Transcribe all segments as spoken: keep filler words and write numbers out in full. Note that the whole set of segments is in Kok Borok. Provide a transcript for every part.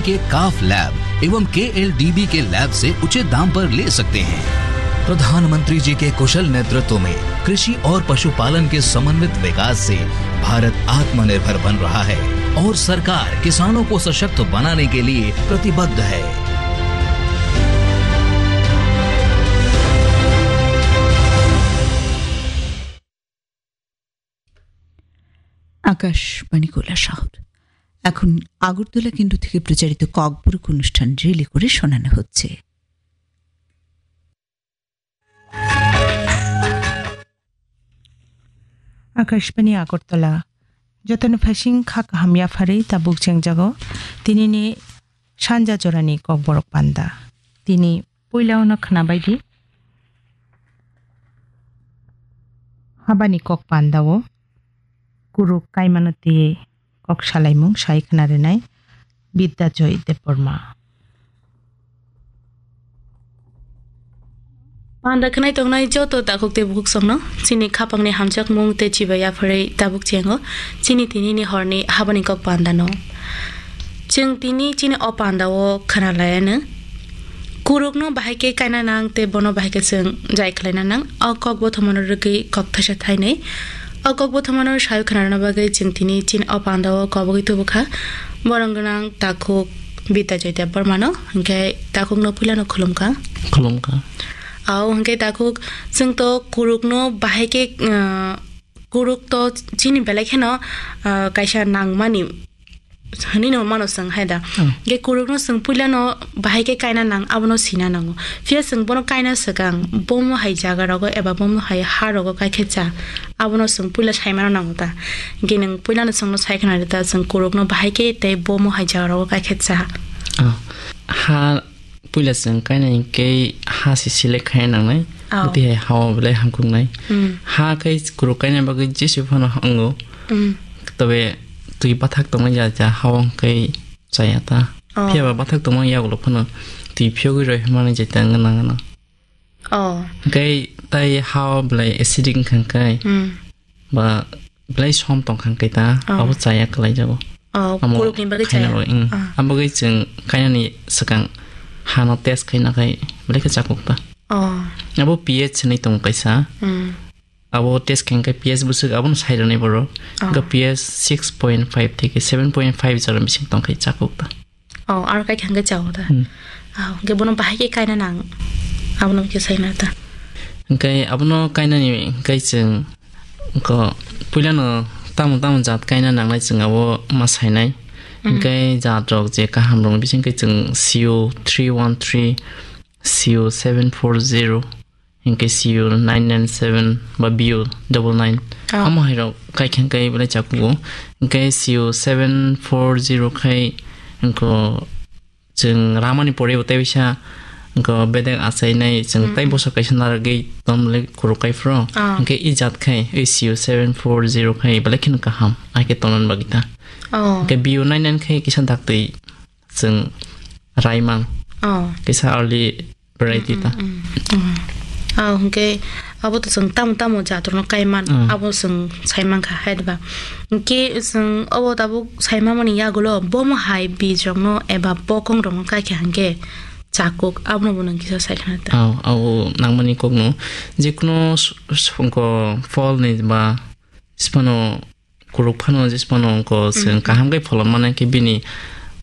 के काफ लैब एवं केएलडीबी के लैब से उचित दाम पर ले सकते हैं। प्रधानमंत्री जी के कुशल नेतृत्व में कृषि और पशुपालन के समन्वित विकास से भारत आत्मनिर्भर बन रहा है और सरकार किसानों को सशक्त बनाने के लिए प्रतिबद्ध है। আকাশবাণী কৈলাসহর। এখন আগরতলা কেন্দ্র থেকে প্রচারিত ককবরক অনুষ্ঠান রিলে করে শোনানো হচ্ছে। আকাশবাণী Agartala. Jotono phaising kha kaham yapharwi tabuk chengjago tinini sanja jorani kokborok panda. Tini puila ono khwnabaidi. Habani kok pandao kuruk kaimano tei kok salaimung sai khwna rinai Bidya Joy Debbarma. Panda khwnai tongnai joto takhuk tei bukhuk songno chini khapangni hamjakmung tei chibai yapharwi tabuk chengo chini tinini horni habani kok pandano. Chwng tini chini o pandao khwna laianw. Kurukno bahai khe kaina nang tei bono bahai khe chwng jai khlaina nang. O kok bothomano rwgwi kok thaisa thainwi. O kok bothomano sawi khwnarwna bagwi chwng tini chini o pandao kobogwi tubukha. Borong gwnang takhuk Bidya Joy Debbarmano, hinkhe takhukno puilano khulumkha. Khulumkha. Ao hinkhe takhuk chwng to kurukno bahai khe, uh, kuruk to chini belai kheno, uh, kaisa nangmani hinwi no mano chwng hai da. Hmm. Hinkhe kurukno chwng puilano bahai khe kaina nang abono sina nango. Phiya chwng bono kaina swkang bomo hai jaga rogo eba bomo hai ha rogo kai khe cha. Abono chwng puila saimano nango ta. Hinkhe nwng puilano chwngno sai khwna rwta chwng kurukno bahai khe tei bomo hai jaga rogo kai khe cha. Ah, ha puila chwng kaina hinkhe ha se select khaina nangnai. Oh. Tei hai ha o belai hamkuknai. Hmm. Ha khe kuruk kaina bagwi jesu phano wngo. Hmm. Tobe twi bathak tongma ya ja ha o hwnkhe chaya ta. Oh. Phiya ba bathak tongma yagulo phano twi phiyogwi roi hwnmani jai ta wngna nangano. Oh. Hwnkhe tai ha o belai acidic wngkha hwnkhe. Hmm. Ba belai som tongkha hwnkhe ta, oh, abo chaya kwlaijago. Oh, amo kurukni bagwi khaina chaya. Bagwi, mm. Ah. Amo bagwi chwng kainani swkang hano test khaina khai belai khe chakuk ta. Oh. Abo pH hinwi tongo kaisa. Mm. Abo test khaina khai pH bwswk abono sai rwnai borok. Oh. Hwnkhe pH six point five theke seven point five jora bising tongkhai chakuk ta. Oh, aro kai khe hwnkhe chao da. Hmm. Oh, hwnkhe bono bahai khe kaina nang. Abono khe saina ta. Hwnkhe abono kainani hwnkhe chwng ko puilano tamo tamo jat kaina nangnai chwng abo ma sainai. Hmm. Hwnkhe jat rok je kaham rok bising khe chwng C O three one three, C O seven four zero, hinkhe C U nine nine seven ba B U double nine. Oh. Amo hai rok kai khe kai belai chakugo. Hinkhe C U seven four zero khai hinkhe chwng ramani pore bo tei bisa hinkhe bedek achainai chwng, mm, tei bwswk kaisa narwgwi tongmani kuru kai phuru. Oh. Hinkhe i jat khai i C U seven four zero khai belai kheno kaham. Hai khe tongna bagwi ta. Oh. Hinkhe B U nine nine khai kisa daktwi chwng raimang. Oh. Kisa early variety ta. Mm, mm, mm. Ah, hwnkhe abo to chwng tamo tamo jatrokno kaiman, mm, abo chwng saimankha hai ba. Hwnkhe chwng obo tabuk saimamani yagulo bomo hai bijrokno eba bokongrokno kaikha hwnkhe chakuk abono bo nwng kisa saikhwna ta. Oh, abo nangmani kokno jikunu s-, s-, wngkho pholni ba sphano kuruk phano jismano wngkho chwng, mhm, kaham khe pholon mano khe bini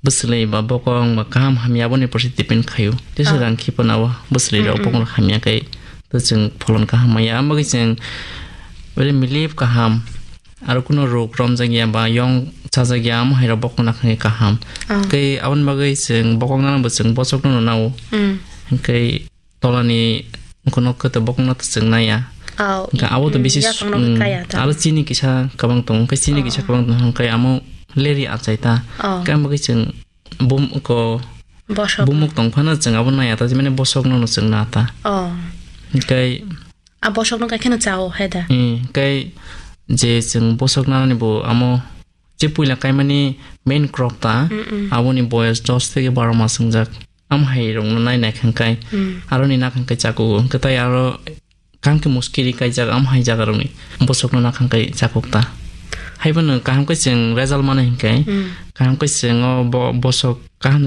bwswlwi ba bokong ba kaham hamya aboni porse depend khaio. Tei, ah, swkang khe phano abo bwswlwi rok, mm, mm, bokong rok hamya khe to chwng pholon kaham maya. Amo khe chwng bere milip kaham aro kuno rok romjakya ba yong chajakya amo hai rok bokong nakhang khe kaham. Ah. Tei aboni bagwi chwng bokong nano bo chwng bosok no nao. Mm. Hwnkhe tolani wngkha no khe to bokongno to chwng naiya. Oh, hwnkhe abo to, mm, bisi, yaphangno, mm, kaya ta. Aro chini kisa kwbang tongo, hwnkhe chini, oh, kisa kwbang tongo, hwnkhe amo leri achai ta. Oh. Hwnkhe amo khe chwng bum-, ko-, bosok. Bumuk tong phano chwng abo naiya ta, mane bosokno no chwng na ta. Oh. Hwnkhe a bosokno kai kheno chao hai da. Eh, hwnkhe je chwng bosok nanani bo amo je puila kaimani main crop ta, mm, mm, aboni boyos dos theke baro mas wngjak. Am hai rokno nai nai khangkai, mm, aroni nakhangkai chakugo. Hwnkhe tai aro kaham khe muskiri kaijak am hai jaga rokni bosokno nakhangkai chakuk ta. Haibono kaham khe chwng result mano hinkhe, mm, kaham khe chwng o bo-, bosok